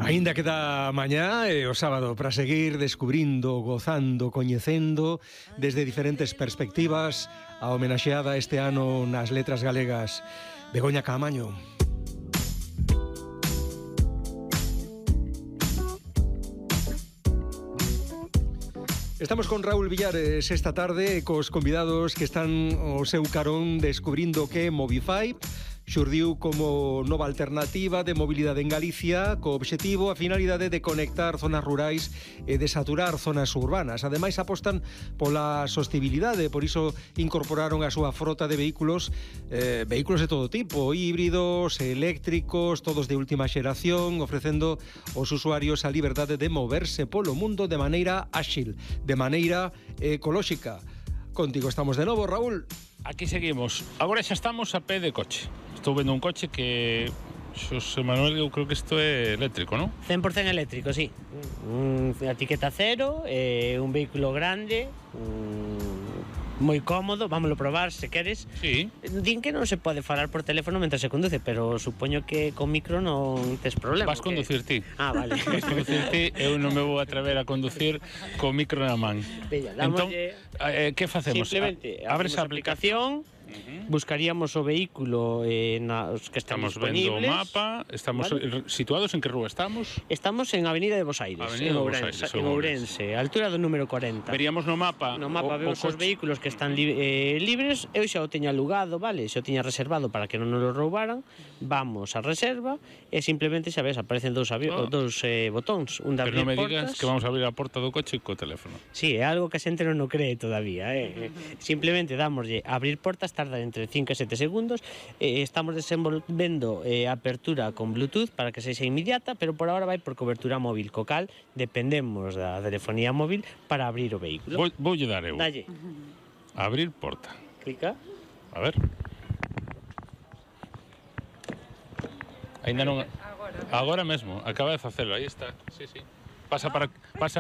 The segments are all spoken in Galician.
Aínda queda mañá e o sábado para seguir descubrindo, gozando, coñecendo desde diferentes perspectivas a homenaxeada este ano nas letras galegas Begoña Caamaño. Estamos con Raúl Villares esta tarde cos convidados que están ao seu carón descubrindo que Movify xurdiu como nova alternativa de mobilidade en Galicia co obxectivo a finalidade de conectar zonas rurais e de saturar zonas urbanas. Ademais apostan pola sostibilidade, por iso incorporaron a súa frota de vehículos de todo tipo, híbridos, eléctricos, todos de última xeración, ofrecendo aos usuarios a liberdade de moverse polo mundo de maneira áxil, de maneira ecolóxica. Contigo estamos de novo, Raúl. Aquí seguimos. Agora xa estamos a pé de coche. Estou vendo un coche que, Xosé Manuel, eu creo que isto é eléctrico, non? 100% eléctrico, sí. A etiqueta cero, un vehículo grande, moi cómodo, vámoslo probar se queres. Sí. Din que non se pode falar por teléfono mentre se conduce, pero supoño que con micro non tes problema. Vas conducir ti. Ah, vale. Vas conducir ti, eu non me vou atrever a conducir co micro na man. Bella, Entón, dámoslle... que facemos? Simplemente, abres a aplicación, buscaríamos o vehículo os que están Estamos vendo o disponibles. mapa, estamos ¿vale? situados en que rúa estamos? Estamos en Avenida de Bos Aires, Avenida de Bos Aires, en Ourense, a altura do número 40. Veríamos no mapa. No mapa vemos os vehículos que están libres. Eu xa o teña alugado, vale? Xa o teña reservado para que non nos lo roubaran. Vamos a reserva e simplemente, xa ves, aparecen dous botóns, un de Pero abrir non me portas. digas que vamos a abrir a porta do coche co teléfono. Sí, é algo que a xente non o cree todavía, Simplemente damoslle abrir portas, tarda entre 5 e 7 segundos. Estamos desenvolvendo a apertura con Bluetooth para que sexa inmediata, pero por ahora vai por cobertura móvil, co cal dependemos da telefonía móvil para abrir o vehículo. Voulle dar eu. Dalle. Abrir porta. Clica. A ver. Ainda non... Agora mesmo, acaba de facelo, aí está. Sí. Pasa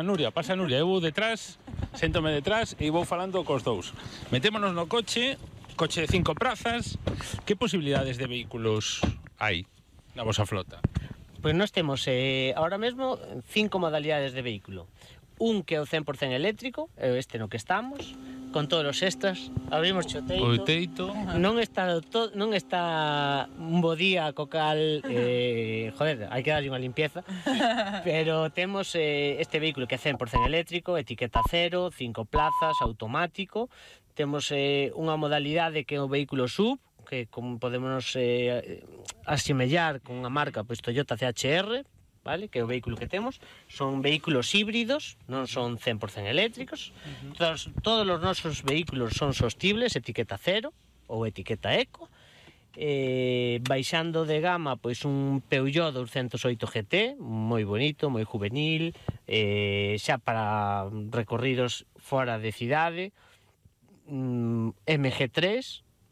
Nuria, eu vou detrás, séntome detrás e vou falando cos dous. Metémonos no coche de 5 prazas. Que posibilidades de vehículos hai na vosa flota? Pois nós temos ahora mesmo 5 modalidades de vehículo. Un que é o 100% eléctrico, este no que estamos, con todos os extras. Abrimos o teito. Non está un bo día co cal, hai que darlle unha limpieza. Pero temos este vehículo que é 100% eléctrico, etiqueta cero, 5 plazas, automático. Temos unha modalidade que é o vehículo SUV, que como podemos asemellar con a marca Toyota CHR, vale? Que é o vehículo que temos. Son vehículos híbridos, non son 100% eléctricos. Todos os nosos vehículos son sostibles, etiqueta cero ou etiqueta eco. Baixando de gama, pois un Peugeot 208 GT, moi bonito, moi juvenil, xa para recorridos fora de cidade. MG3,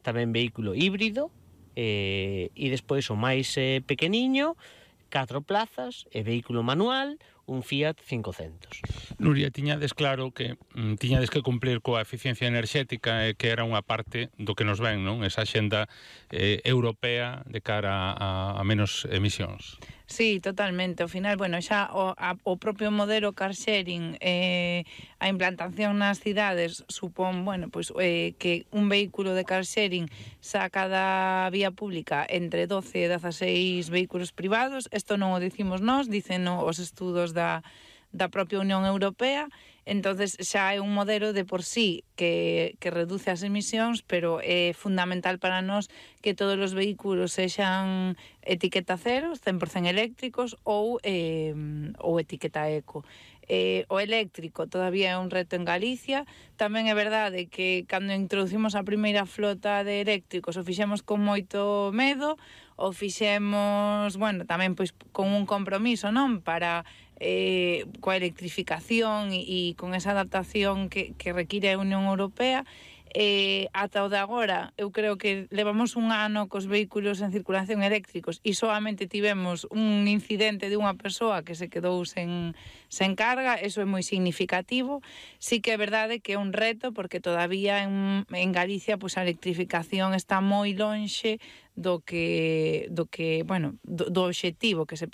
tamén vehículo híbrido, e despois o máis pequeniño, 4 plazas e vehículo manual, un Fiat 500. Nuria, tiñades claro que tiñades que cumplir coa eficiencia enerxética e que era unha parte do que nos ven, non? Esa axenda europea de cara a menos emisións. Sí, totalmente. Ao final, xa o propio modelo car sharing, a implantación nas cidades supón, que un vehículo de car sharing saca da vía pública entre 12 e 16 vehículos privados. Isto non o dicimos nós, dicen os estudos da propia Unión Europea. Entonces xa é un modelo de por sí que reduce as emisións, pero é fundamental para nós que todos os vehículos sexan etiqueta cero, 100% eléctricos ou etiqueta eco. O eléctrico todavía é un reto en Galicia. Tamén é verdade que cando introducimos a primeira flota de eléctricos o fixemos con moito medo, o fixemos, tamén pois con un compromiso, non? Para coa electrificación e con esa adaptación que require a Unión Europea. Ata o de agora, eu creo que levamos un ano cos vehículos en circulación eléctricos e solamente tivemos un incidente de unha persoa que se quedou sen carga. Eso é moi significativo. Sí que é verdade que é un reto, porque todavía en Galicia a electrificación está moi lonxe do objetivo que se